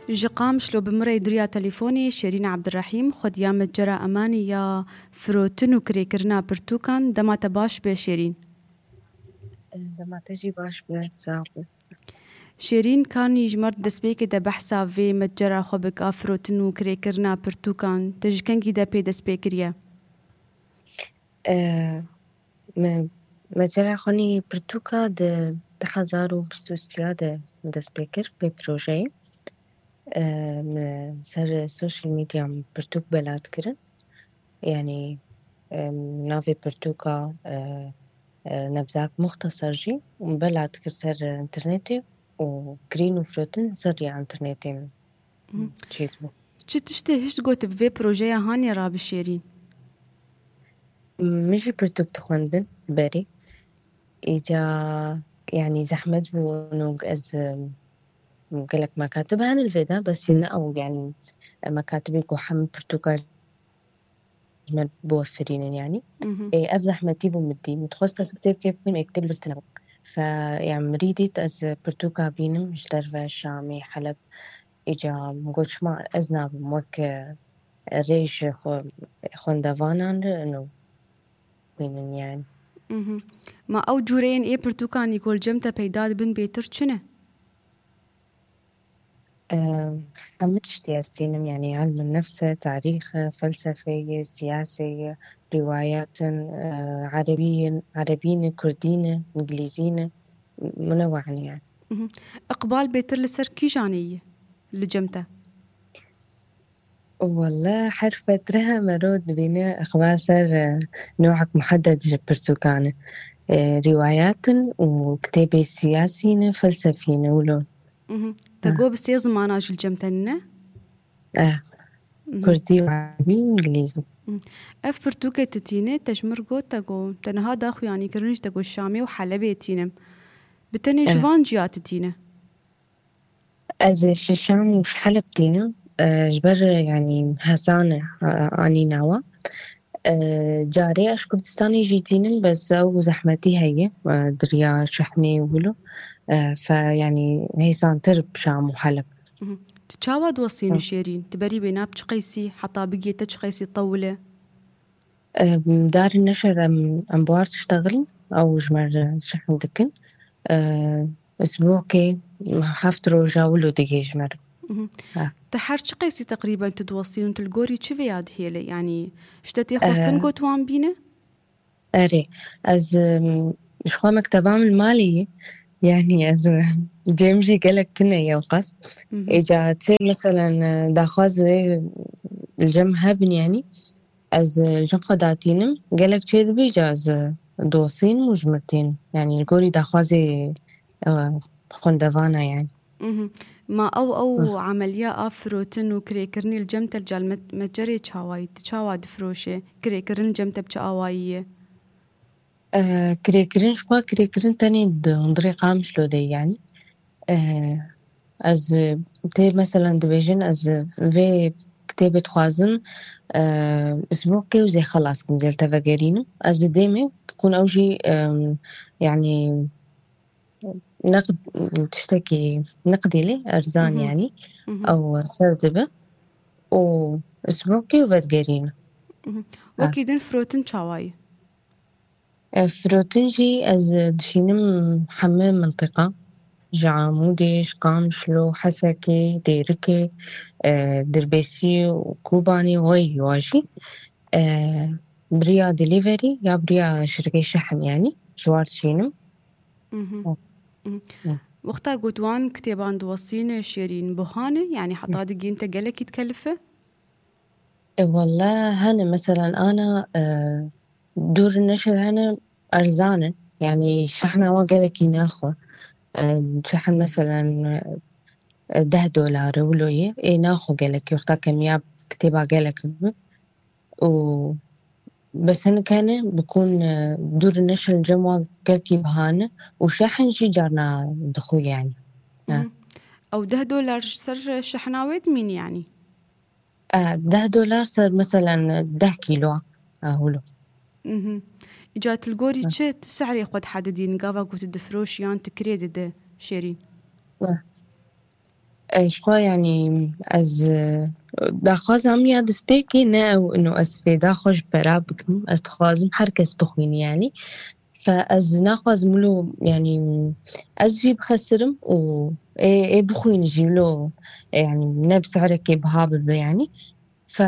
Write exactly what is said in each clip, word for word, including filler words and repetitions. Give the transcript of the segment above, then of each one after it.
Ji Qamişlo bi min re di riya telefonê Şêrîn Ebdirehîm, xwediya metcera Emanî ya firotin û kirêkirina pirtûkan. Dema te baş be Şêrîn. Dema te jî baş be, sax be. Şêrîn, kanî ji me re di destpêkê de behsa vê metcera xwe bike, firotin û kirêkirina pirtûkan. Te ji kengî de pê dest pê kiriye? Me, me cara xwenî pirtûka di du hezar û bîst û sê de dest pê kir vê projeyê. E, me ser social media pirtûk bela dikirin. Yanî, e, navê pirtûka, e, e, Nebzak Muxtasar jî bela dikir ser internetê û kirîn û firotin ser ya internetê min. Hı. Çêdibû. Çi tiştê hişt got bi vê projeya hanê rabişêrîn? Min jî pirtûk dixwendin berê. Îca, yanî zehmet bû, û ez, em, gelek mekatib hene li vê de, bes ne ew, yanî, e, mekatibê ku hemî pirtûka ji me biwefirînin, yanî. Mhm. Ê, ev zehmetî bû min dî. Min dixwest ez kitêbkê bixwînim, ê kitêb li vir tune bû. Fe, ya min rî dît ez pirtûka bînim ji derve Şamê, Heleb. Îca min got, çima ez nabim wek, e, rêj xwe, xwendevanan re, ino xwînin, yanî. Mhm. Ma ew cûreyên ê pirtûkanî ku li cem te peyda dibin bêtir çi ne? Em, hemû tiştê ez tînim, yanî ilmin nefs e, tarîx e, felsefe ye, siyase ye, rîwayat in, e, erebî in, erebî ne, kurdî ne, îngilîzî ne, munewwe'in yanî. Mhm. Iqbal bêtir li ser kîjanê ye li cem te? Welle her fetre mero dibîne iqbal ser, e, newek muhedded ji pirtûkan e. E, rîwayat in û kitêbê siyasî ne, felsefî ne, wilo. Mhm. Te Ah. got bi sê zimana jî li cem te ne? Eh. Mhm. Kurdî û erebî û îngilîzî. Mhm. Ev pirtûkê tu tîne, te ji mir got, te got, te niha da xuyanîkirin jî, te got Şamê û Helebê tînim. Bi tenê ji Eh. van ciya tu tîne? Ez ji Şam û ji Heleb tînim. Eh, ji ber, yanî, hesane, eh, anî nawa. Eh, carê ez ji Kurdistanê jî tînim, bes ew zehmetî heye, eh, di riya şehnê û wilo. Eh, fe, yanî, hêsantir bi Şam û Heleb. Mhm. Tu çawa diwesînî Hı. Şêrîn? Tu berî wê nab çi qeysî, heta bigê te çi qeysî tewil e? Em, dar neşer em, em buar diştexilin, ew ji me re şehn dikin. E, isbokê heft roja wilo digê ji me re. Mhm. Ha. Te her çi qeysî teqrîben tu diwesîn û tu li gorî çi vêya dihêle? Yanî, ji te tê xwestin E, got wan bîne? Erê, ez, em, ji xwe mekteba min malê ye. Yanî ez, em, cem jî gelek tune ye ew qas. Mhm. Êca çi, meselen, e, daxwazê li cem hebin, yanî ez, e, cem xwe datînim. Gelek çêdibî ca ez, e, diwesînim û ji mir tînim. Yanî li gorî daxwazê, e, xwendevana, yanî. Mhm. Ma ew, ew Hı. emeliya a firotin û kirêkirinê li cem te li cal met-, metcerê çawa yî? Tu çawa difiroşe? Kirêkirin li cem te bi çi awayî ye? Eh, kirêkirin ji xwe, kirêkirin tenê di hundirê Qamişlo de ye, yanî. Eh, ez, eh, tê, meselen, dibêjin, ez, eh, vê kitêbê dixwazim, eh, isbokê û zê xelas kim, zê li te vegerînim. Ez di dêmê, bikûn ew jî, em, yanî, neqd-, tiştekî neqdî lê erzan, Mhm. yanî, Mhm. ew ser dibe û isbokê û vedigerînim. Mhm. Ha. Wekî din firotin çawa ye? E, firotin jî ez dişînim hemî mintiqa. Ji Amûdê, ji Qamişlo, Hesekê, Dêrikê, e, Dirbêsî û Kobanê, wê wa jî. E, bi riya delivery ya bi riya şirkê şehn, yanî, ji war dişînim. Mhm. Hı. Mhm. Hı. Wexta got wan kitêban diwesîne Şêrîn, buha ne, yanî heta Hı. digihîn te gelekî dikelife? E, welle hene, meselen, ana, e, dûr neşir hene, erzan in. Yanî şehna wan gelekî naxwe. E, şehn, meselen, e, deh dolar e, wilo ye. Ê naxwe gelekî, wexta kemiya kitêba gelek bi. Û bes hinek hene, bikûn, e, dûr neşir cem wan gelkî biha ne û şehn jî carna dixwe, yanî. Ha. Mhm. Ew deh dolar ji ser şehna wê dimîn, yanî? E, deh dolar ser, meselen, deh kîlo, e, hûlo. Mhm. Îca tu li gorî Hı. çi, tu sehrê xwe dihedidîn, gava ku tu difiroşî yan tu kirê dide Şêrîn? E. Ji xwe, yanî, ez, e, daxwaza min ya destpêkê ne ew ino ez fêda xwe ji pera bikim. Ez dixwazim her kes bixwîne, yanî. Fe ez naxwazim wilo, yanî, ez jî bixesirim û ê, ê bixwîne jî wilo, yanî, ne bi sehrekê biha bibe, yanî. Fe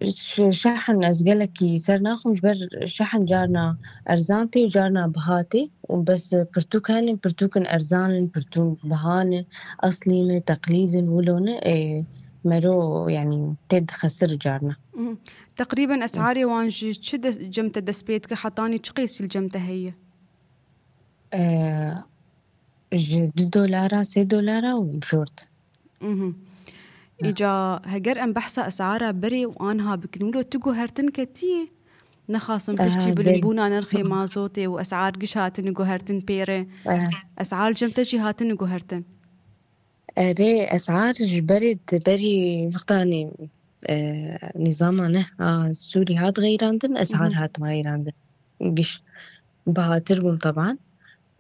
ş-, şehn ez gelekî ser naxim, ji ber şehn carna erzan tê û carna biha tê û bes pirtûk hene, pirtûkin erzan in, pirtûk biha ne, eslî ne, teqlîd in, wilo ne, ê, mero, yanî, tê dixesir carna. Mhm. Teqrîben esarê wan ji çi des-, cem te dest pê dike, hetanî çi qêsî li cem te heye? Ee, ji du dolara, sê dolara û bijort. Mhm. Îca heger em behsa esara berê û anha bikin, wilo tu guhertin ketiyê? Nexasim piştî Aha, bilimbûna nirxê mazotê û esar giş hatine guhertin pê re. Aha. Esar cem te jî hatine guhertin? Erê, esar ji berê di berî wextanê, e, nîzama neh a Sûrî hat xeyrandin, esar Mhm. hat xeyrandin. Giş bihatir bûn teban.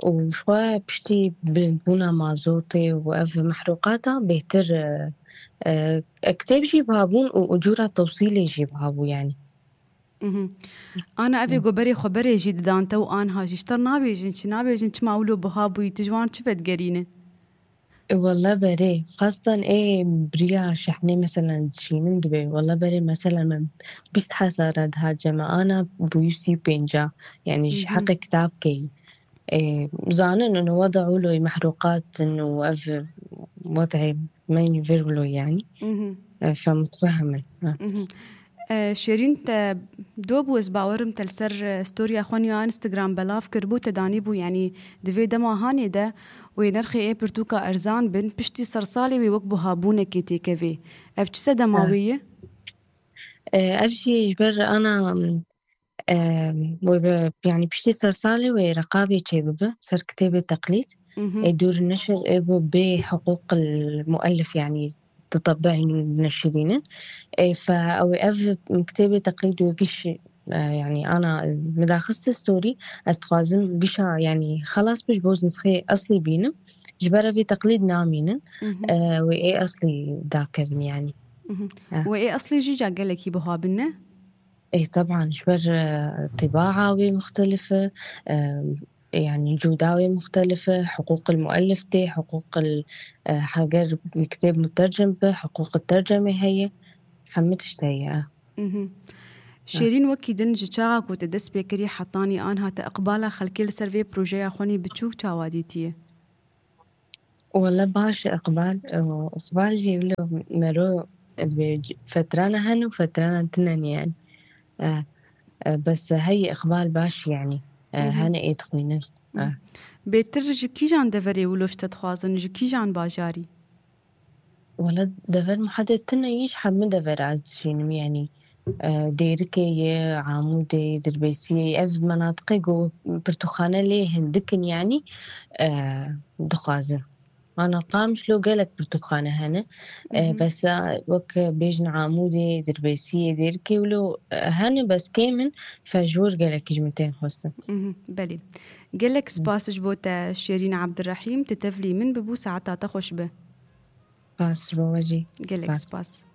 Û ji xwe piştî bilindbûna mazotê û ev mehrûqata bêhtir, e, e, kitêb jî biha bûn û ucûra tewsîlê jî biha bû, yanî. Mhm. Ana evê Hı. ku berê xwe berê jî didan te û anha jî ji te nabêjin çi, nabêjin çima wilo biha bûyî, tu ji wan çi vedigerîne? E, wele berê, xastan ê biriya şehnê, meselen, dişînim dibe. Wele berê, meselen, min bîst hezara dihat cem me, ana bûyî sî û pênca. Yanî ji Hı hı. heqê kitab keyî. E, zanin û weda wilo mehrûqat in û ev wedê me yî vir wilo, yanî. Mhm. E, fe mutfehim in. Ha. Mhm. E, Şêrîn, te do bû, ez bawerim te li ser, e, storiya xwe ya Instagram belav kiribû, te danîbû, yanî di vê dema hanê de wê nirxê ê pirtûka erzan bin, piştî sersalê wê wek buhabûnekê têkevê. Ev çi sedema Ha. wê ye? E, ev jî ji ber ana, e, wê be, yanî piştî sersalê wê reqabê çêbibe ser kitêbê teqlîd. Mhm. Ê dûr neşir ê bû bê hiqûq il muellif, yanî titebeîn û neşirînin. Ê, fe ew ê ev kitêbê teqlîd wê giş, e, yanî ana min daxiste storî, ez dixwazim gişa, yanî xelas bi ji bo nisxê eslî bînim. Ji ber evê teqlîd namînin. Mhm. E, wê ê eslî dakevin, yanî. Mhm. E. Wê ê eslî jî ca gelekî buha bin, ne? Ê, teban, ji ber, e, tibaa wê muxtelif e, e, yanî cûda wê muxtelif e, hiqûq il muellif tê, hiqûq il, e, heger kitêb mutercim be, hiqûq tercemê heye, hemî tişt heye. Mhm. Şêrîn, wekî din ji çaxa ku te dest pê kirî hetanî anha te iqbala xelkê li ser vê projeya xwenî biçûk çawa dîtiye? Wele baş e, iqbal, e, iqbal jî wilo mero, e, bi c-, fetrana hene û fetrana tune ne, yanî. E, e, bes heye iqbal baş, yanî. E, Hı hı. Hene ê dixwînin. Hı. E. Bêtir ji kîjan deverê wilo ji te dixwazin, ji kîjan bajarî? Wele dever muheded tune ye, ji hemû dever ez dişînim, yanî, e, Dêrikê ye, Amûdê, Dirbêsiyê, ev menatiqê ku pirtûkxane lê hindik in, yanî, e, dixwazin. Ana Qamişlo gelek pirtûkxane hene. E, Mhm. Bes, e, wek bêjin Amûdê, Dirbêsiyê, Dêrikê wilo, e, hene, bes kêm in, fe ji wir gelekî ji min tên xwestin. Mhm, belê. Gelek spas ji bo te Şêrîn Abdurrahîm, tu tevlî min bibû, saeta te xweş be. Spas ji bo we jî. Gelek spas. Spas.